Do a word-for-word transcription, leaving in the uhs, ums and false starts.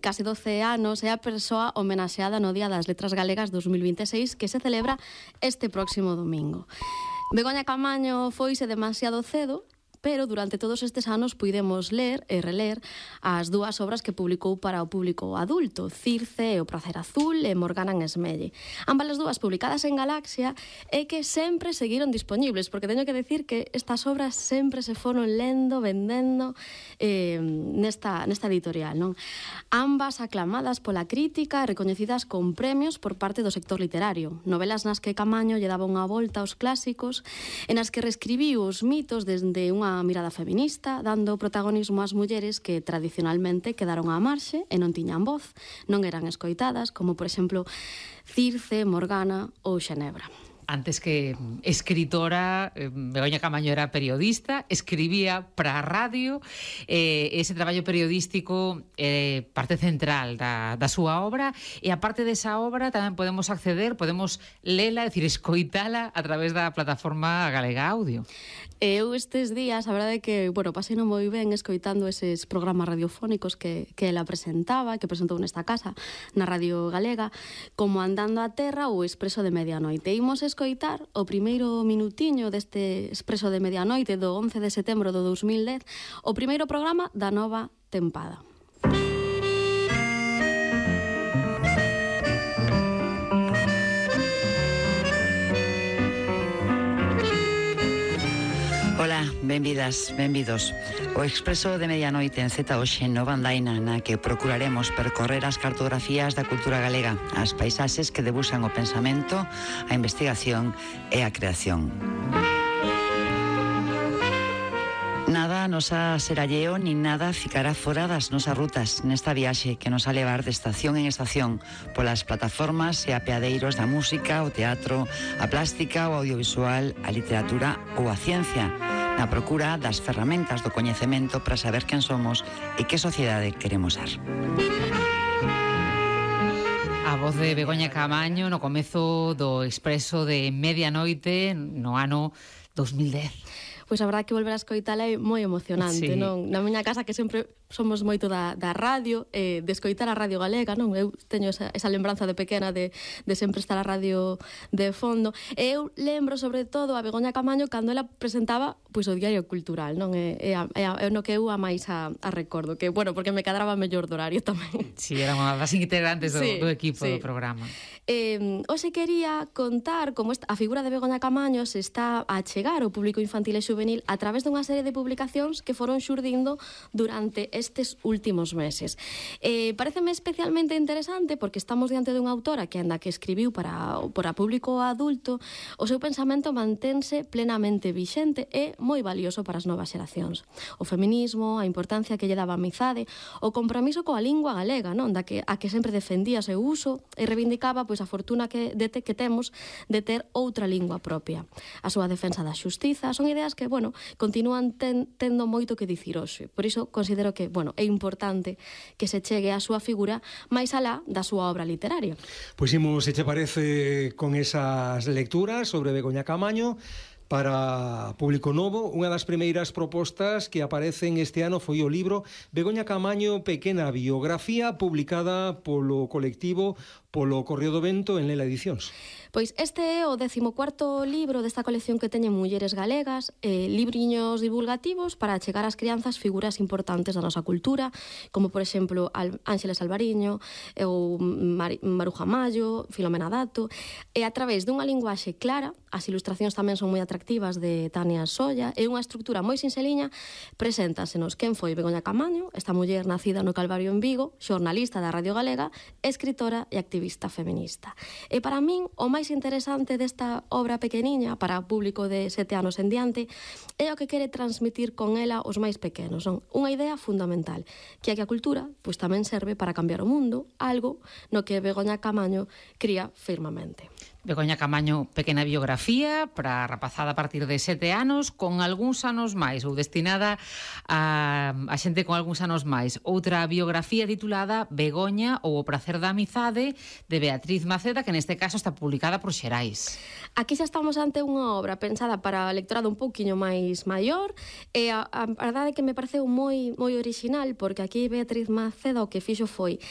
case doce anos, é a persoa homenaxeada no Día das Letras Galegas dos mil vinte e seis que se celebra este próximo domingo. Begoña Caamaño foise demasiado cedo, pero durante todos estes anos puidemos ler e reler as dúas obras que publicou para o público adulto, Circe e o Pracer Azul e Morgana en Esmelle. Ambas as dúas publicadas en Galaxia e que sempre seguiron dispoñibles, porque teño que decir que estas obras sempre se foron lendo, vendendo eh, nesta, nesta editorial, non? Ambas aclamadas pola crítica e recoñecidas con premios por parte do sector literario. Novelas nas que Caamaño lle daba unha volta aos clásicos, en as que reescribiu os mitos desde unha mirada feminista, dando protagonismo ás mulleres que tradicionalmente quedaron á marxe e non tiñan voz, non eran escoitadas, como por exemplo Circe, Morgana ou Xenebra. Antes que escritora, Begoña Caamaño era periodista, escribía para a radio, eh, ese traballo periodístico é eh, parte central da, da súa obra, e a parte desa obra tamén podemos acceder, podemos lela, é dicir, escoitala a través da plataforma Galega Audio. Eu estes días, a verdade é que, bueno, pasei non moi ben escoitando eses programas radiofónicos que, que ela presentaba, que presentou nesta casa, na Radio Galega, como Andando a Terra ou Expreso de Medianoite. Imos escoitar o primeiro minutiño deste Expreso de Medianoite do once de setembro do dos mil dez, o primeiro programa da nova tempada. Ola, benvidas, benvidos. O Expreso de Medianoite en Z hoxe en Nova Andaina, na que procuraremos percorrer as cartografías da cultura galega, as paisaxes que debuxan o pensamento, a investigación e a creación. Nada nos a seralleo nin nada ficará fora das nosas rutas nesta viaxe que nos a levar de estación en estación polas plataformas e apeadeiros da música, o teatro, a plástica, o audiovisual, a literatura ou a ciencia, na procura das ferramentas do coñecemento para saber quen somos e que sociedade queremos ser. A voz de Begoña Caamaño no comezo do Expreso de Medianoite no ano dos mil dez. Pois a verdade que volver a escoitala é moi emocionante, sí. Non? Na miña casa, que sempre somos moito da, da radio, eh, de escoitar a Radio Galega, non? Eu teño esa, esa lembranza de pequena de, de sempre estar a radio de fondo. E eu lembro, sobre todo, a Begoña Caamaño cando ela presentaba pois o Diario Cultural, non? É, é, é, é no que eu a máis a, a recordo, que, bueno, porque me cadraba mellor do horario tamén. Si, sí, era unha das integrantes do, sí, do equipo sí. do programa. Eh, hoxe quería contar como esta, a figura de Begoña Caamaño se está a chegar ao público infantil e xuvenil a través dunha serie de publicacións que foron xurdindo durante estes últimos meses. Eh, pareceme especialmente interesante porque estamos diante dunha autora que, anda que escribiu para, para público adulto, o seu pensamento mantense plenamente vixente e moi valioso para as novas xeracións. O feminismo, a importancia que lle daba a amizade, o compromiso coa lingua galega, non? Da que, a que sempre defendía o seu uso e reivindicaba pois a fortuna que, de te, que temos de ter outra lingua propia. A súa defensa da xustiza son ideas que, bueno, continúan ten, tendo moito que dicir hoxe. Por iso considero que, bueno, é importante que se chegue a súa figura máis alá da súa obra literaria. Pois imos, se che parece, con esas lecturas sobre Begoña Caamaño para público novo. Unha das primeiras propostas que aparecen este ano foi o libro Begoña Caamaño, pequena biografía, publicada polo colectivo polo Correo do Vento en Lela Edicións. Pois este é o décimo cuarto libro desta colección que teñen mulleres galegas, eh, libriños divulgativos para chegar ás crianzas figuras importantes da nosa cultura, como por exemplo Al Ángeles Alvariño, ou Mar Maruja Mayo, Filomena Dato, e a través dunha linguaxe clara, as ilustracións tamén son moi atractivas de Tania Solla, e unha estrutura moi sinxeliña, preséntasenos quen foi Begoña Caamaño, esta muller nacida no Calvario en Vigo, xornalista da Radio Galega, escritora e activista feminista. E para min, o máis interesante desta obra pequeniña para o público de sete anos en diante é o que quere transmitir con ela os máis pequenos. Son unha idea fundamental, que é que a cultura pois tamén serve para cambiar o mundo, algo no que Begoña Caamaño cría firmemente. Begoña Caamaño, pequena biografía para a rapazada a partir de sete anos, con algúns anos máis, ou destinada a, a xente con algúns anos máis. Outra biografía titulada Begoña ou o pracer da amizade, de Beatriz Maceda, que neste caso está publicada por Xerais. Aquí xa estamos ante unha obra pensada para a lectorado un pouquiño máis maior, e a, a, a verdade é que me pareceu moi moi orixinal, porque aquí Beatriz Maceda o que fixo foi